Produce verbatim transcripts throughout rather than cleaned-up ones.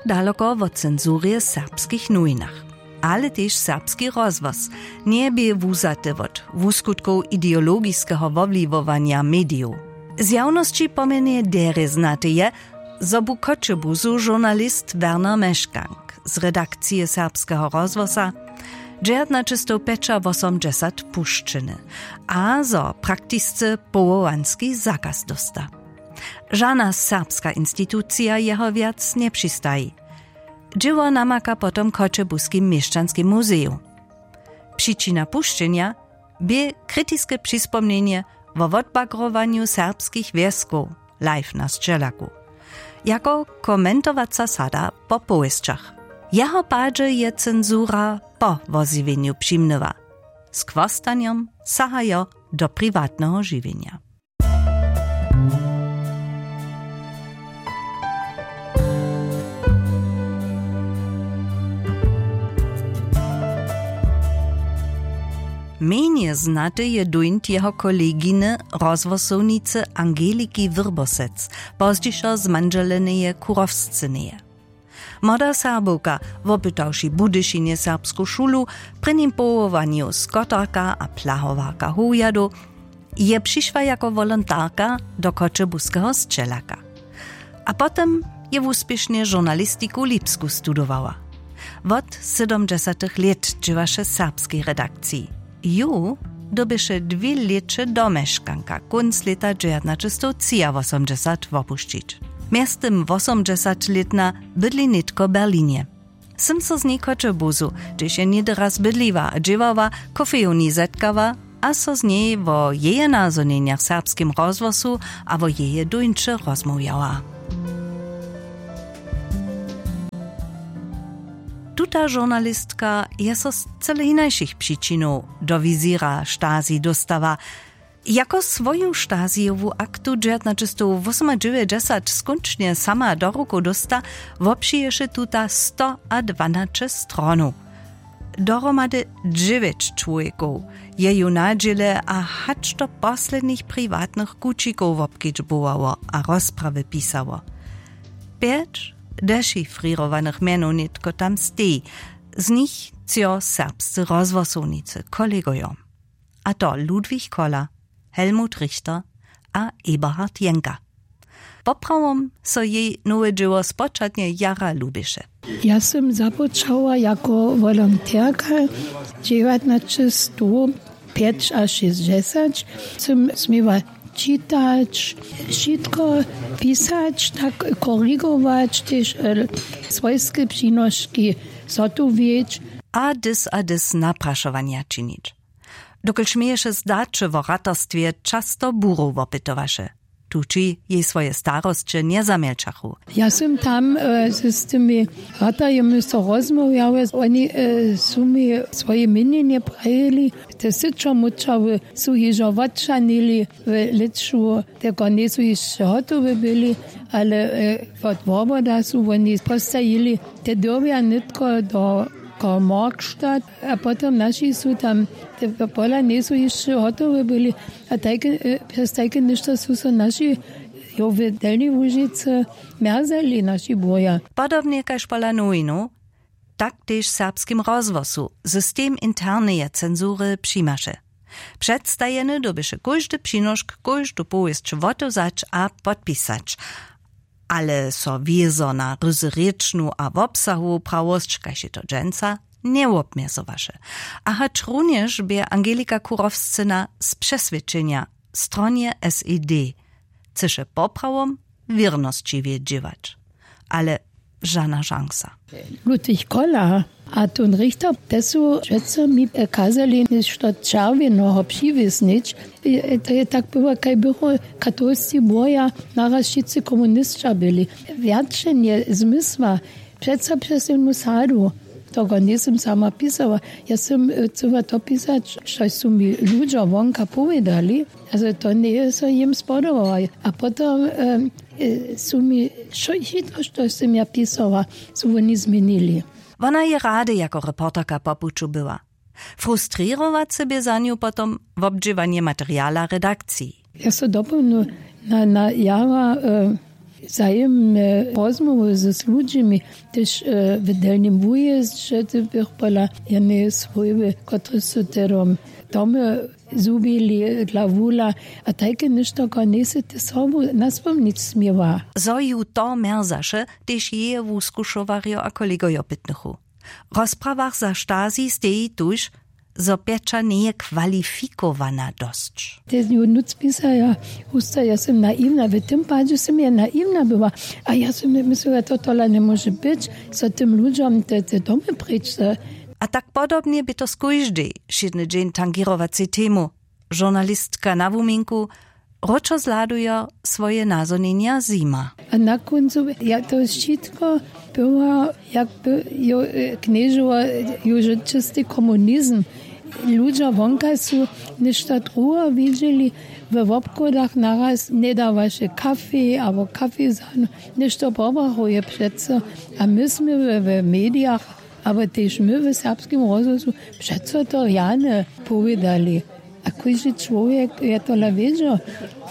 Daloko wot cenzurje w serbskich nowinach, ale tež serbski rozhłos njebě wuzaty wot wuskutkow ideologiskeho wobliwowanja medijow. Zjawnosći pomjenje derje znaty je, zo bu w Choćebuzu žurnalist Werner Meškank z redakcije Serbskeho rozhłosa dźewjatnaćestowpjećawosomdźesat pušćeny a zo praktisce powołanski zakaz dósta. Žana serbska institucija jeho wjac njepřistaji. Dźěło namaka potom w Choćebuskim měšćanskim muzeju. Přičina pušćenja bě kritiske přispomnjenje wo wotbagrowanju serbskich wjeskow live na sćelaku, jako komentowaca sada po powěsćach. Jeho padźe je cenzura po wozjewjenju přimnyła. Z chłostanjom sahajo do priwatneho žiwjenja. Mjenje znaty je duńt jeho koleginy, rozhłosownicy Angeliki Wyrbosec, pozdźišo zmandźeleneje Kurowscyneje. Młoda Serbowka, wopytawši w Budyšinje serbsku šulu, w prěnim powołanju skotarka a plahowarka howjadow, je přišła jako wolontarka do Choćebuskeho sćelaka. A potom je wuspěšnje žurnalistiku w Lipsku studowała. Wot sydomdźesatych lět dźěłaše w serbskej redakciji. Ju dyrbješe dwě lěće do Meškanka kónc lěta dźewjatnaćestowtřiawosomdźesat wopušćić. Mjeztym wosomdźesatlětna bydli nětko w Berlinje. Sym so z njej w Choćebuzu, hdźež je něhdy raz bydliła a dźěłała, w kofejowni zetkała a so z njej wo jeje nazhonjenjach w serbskim rozhłosu a wo jeje duńće rozmołwjała. Tuta žurnalistka je so z cyle hinašich přičinow do wizěra Stasi dóstała. Jako swoju Stasijowu aktu dźewjatnaćestowwosomadźewjećdźesat skónčnje sama do rukow dósta, wopřiješe tuta stoadwanaće stronow. Dohromady dźewjeć čłowjekow je ju na dźěle a hač do poslednich priwatnych kućikow wobkedźbowało a rozprawy pisało. Pjeć dešifrěrowanych mjenow nětko tam steji, z nich třo serbscy rozhłosownicy, kolegojo. A to Ludwig Koller, Helmut Richter a Eberhard Jenker. Poprawom so jej nowe dźěło spočatnje jara lubješe. Ja sym započała jako wolonterka dźewjatnaćestowpjećašěsćdźesat. Sym směła čitać, wšitko pisać, tak korigować, tež, e, swojske přinoški zhotowjeć. A dys a dys naprašowanja činić. Dokelž měješe zdaće wo ratarstwje, často burow wopytowaše. Tući jej swoje starosće njezamjelčachu. Ja sym tam, e, z, z tymi ratarjemi so rozmołwjała, oni, e, su mi swoje měnjenje prajili. Te syćo mučały su hižo wotčanili w lěću, te konjej su hišće hotowe byli, ale, e, wot woboda su woni postajili, te dyrbja nětko do Karl-Marx-Stadt. A potom naši su tam, te pola njejsu hišće hotowe byli. A tajke, e, přez tajke něšto su so naši, jo, w Delnjej Łužicy mjerzali, naši boja. Podobnje kaž pola nowinow, tak tež w serbskim rozhłosu system interneje cenzury přimaše. Předstajeny dyrbješe kóždy přinošk, kóždu powěsć wotewzać a podpisać. Ale so wězo na ryzerěčnu a wobsahowu prawosć, kaž je to dźensa, njewobmjezowaše. A hačrunjež bě Angelika Kurowscyna z přeswědčenja w stronje S E D, chceše poprawom wěrnosćiwje dźěłać. Ale žana šansa. Ludwig Koller a tón Richter, te su přeco mi, e, kazali něšto čerwjenoho přiwěsnić. E, to je tak było, kaj bychu katolscy boja naraz wšitcy komunisća byli. Wjačenje zmysła přeco přez jednu sadu. Toho njejsym sama pisała. Ja sym, e, chcyła to pisać, štož su mi ludźo wonka powědali. Also to njeje so jim spodobało. A potom, e, e, su mi wšo-, wšitko, što sym ja pisała, su woni změnili. Wona je rady jako reporterka po puću była. Frustrěrowace bě za nju potom wobdźěłanje materiala redakciji. Ja so dopołdnju na, na jara, e, Zajimne rozmołwy z ludźimi, tež w delnim wujězdźe, ty bych pola jene swójby, kotryž su tedom domy zhubili dla wula. A tajke něšto ko njejsy ty sobu naspomnić směła. Zo ju to mjerzaše, tež jeje wuskušowarjo a kolegojo pytnychu. W rozprawach za Stasi steji tuž, zo pjeća njeje kwalifikowana dosć. Te ju nutř pisaja, husta, ja sym naiwna, w tym padźe sym ja naiwna była. A ja sym mysliła, to tola njemóže być, zo tym ludźom te, te domy preč. A tak podobnje bě to z kóždej wšědny dźeń tangěrowacej temu. Žurnalistka na wuminku, wróćo zhladujo swoje nazhonjenja zjima. A na kóncu ja to wšitko była, jakby jo knježowa, jóže čysty komunizm. Ludźo wonka su něšto druho widźeli. We wobchodach naraz njedawaše kafej abo kafejzanu, něšto pobrachuje přeco. A my smy we, we medijach, abo tež my w serbskim rozhłosu přeco to rjane powědali. A kóždy čłowjek je tola wědźał,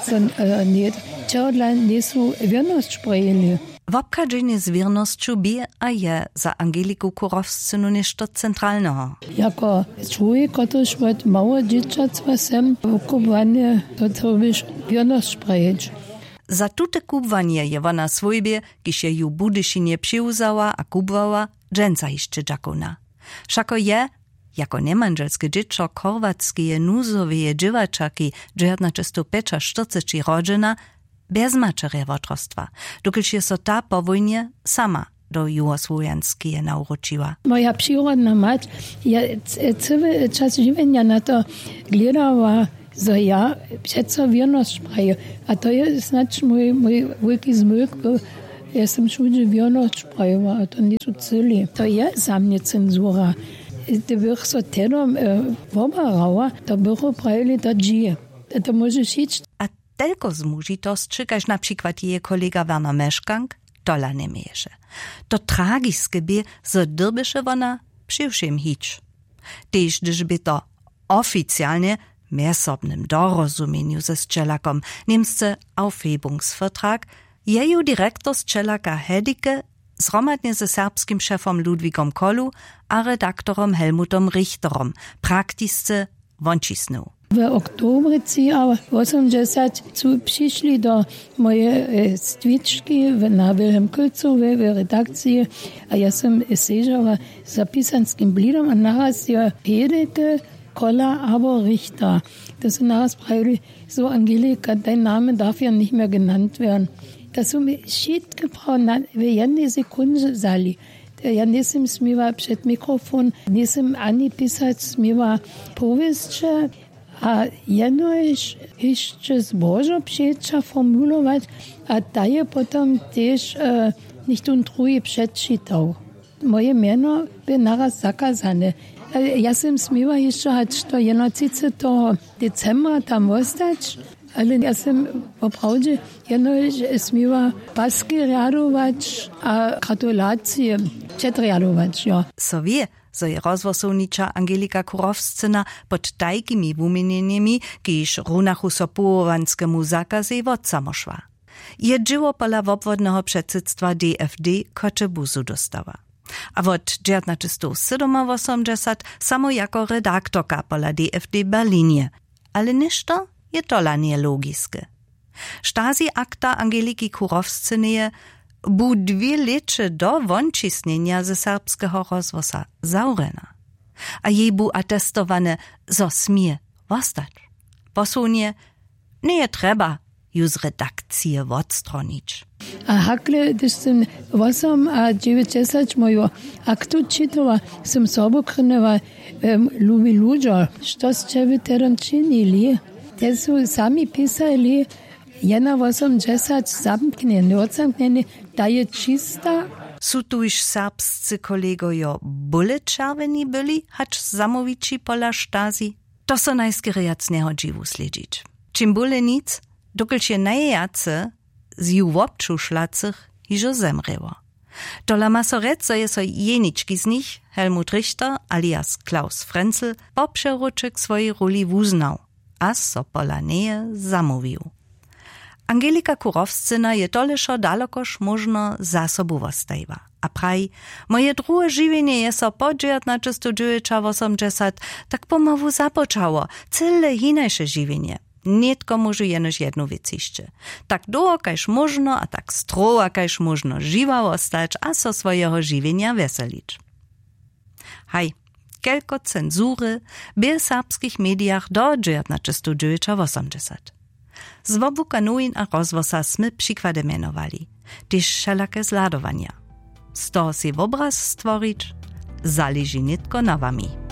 zo nje, čehodla njejsu wěrnosć prejili. Wobchadźenje z wěrnosću bě a je za Angeliku Kurowscynu něšto centralneho. Jako čłowjek, kotryž wot mało dźěćactwa sem wukubłany, to trjebiš wěrnosć prejeć. Za tute kubłanje je wona swójbje, kiž je ju w Budyšinje přewzała a kubłała, dźensa hišće dźakowna. Wšako je jako njemandźelske dźěćo chorwatskeje nuzoweje dźěłaćerki dźewjatnaćestowpjećaštyrceći rodźena, bjez maćerje wotrostwa, dokelž je so ta po wójnje sama do juhosłowjanskeje nawróčiła. Moja přirodna mać je, cyle čas žiwjenja na to glědała, zo ja přeco wěrnosć praju. A to je snadź mój, mój wulki zmójk był. Ja sym wšudźe wěrnosć prajała, a to njejsu cyli. To je za mnje censura. Hdyby bych so tedom wobarała, to bychu prajili, to dźi, to móžeš hić. A telko zmužitosće kaž na přikład jeje kolega Werner Meškank tola njeměješe. To tragiske bě, zo dyrbješe wona při wšěm hić. Tež hdyž bě to oficialnje w mjezsobnym dorozumjenju ze sćelakom, němsce Aufhebungsvertrag, je ju direktor sćelaka Hedike zhromadnje ze serbskim šefom Ludwigom Kolu a redaktorom Helmutom Richterom praktisce wončisnył. W oktobrje třiawosomdźesat su přišli do moje stwički na Wilhelm Kylcowej w redakciji. A ja sym sežała za pisanskim blidom a naraz je Hedike, Kola abo Richter. To su naraz prajili, so Angelika, dein Name darf ja nicht mehr genannt werden. To su mi wšitke prawo w jednej sekundźe wzali. Ja njejsym směła před mikrofon, njejsym ani pisać směła powěsće. A jenož hišće zbožo přeća formulować, a ta je potom tež něchtón druhi předčitał. Moje mjeno bě naraz zakazane. Ja sym směła hišće hač do jedynatřiceteho decembra tam wostać, ale ja sym woprawdźe jenož směła paski rjadować a gratulacije předrjadować, jo. So wě, zo je rozhłosowniča Angelika Kurowscyna pod tajkimi wuměnjenjemi, kiž runachu so powołanskemu zakazej, wotsamošła. Je dźěło pola wobwodneho předsydstwa D F D Choćebuzu dóstała. A wot dźewjatnaćestowsydomawosomdźesat samo jako redaktorka pola D F D w Berlinje. Ale něšto je tola njelogiske. Stasi-akta Angeliki Kurowscyneje bu dwě lěće do wončisnjenja ze serbskeho rozhłosa zawrjena. A jej bu atestowane, zo smě wostać. Posłowne, njeje trjeba ju z redakcije wotstronić. A hakle, hdyž sym wosomadźewjećdźesat moju aktu čitała, sym sobu krynjeła: Lubi ludźo, što sće wy tedom činili? Te su sami pisali, jedynawosomdźesat zamknjeni, wotsamknjeni, ta je čista. Su tuž serbscy kolegojo bóle čerwjeni byli hač zamołwići pola Stasi? To so najskerjac njehodźi wuslědźić. Ćim bóle nic, dokelž je najwjace z ju wobčušlacych hižo zemrěło. Tola ma so rjec, zo je so jenički z nich, Helmut Richter alias Klaus Frenzel, po přewróće k swojej róli wuznał a so pola njeje zamołwił. Angelika Kurowscyna je toležo dalokož móžno za sobu wostajiła a praji: „Moje druhe žiwjenje je so po dźewjatnaćestowdźewjećawosomdźesat tak pomału započało, cyle hinaše žiwjenje. Nětko móžu jenož jednu wěc hišće. Tak dołho kaž móžno a tak strowa kaž móžno žiwa wostać a so swojeho žiwjenja wjeselić.“ Haj, kelko cenzury bě w serbskich medijach do dźewjatnaćestowdźewjećawosomdźesat. Z wobuka nowin a rozhłosa smy přikłady mjenowali, tež wšelake zhladowanja. Z toho sej wobraz stworić, zaleži nětko na wami.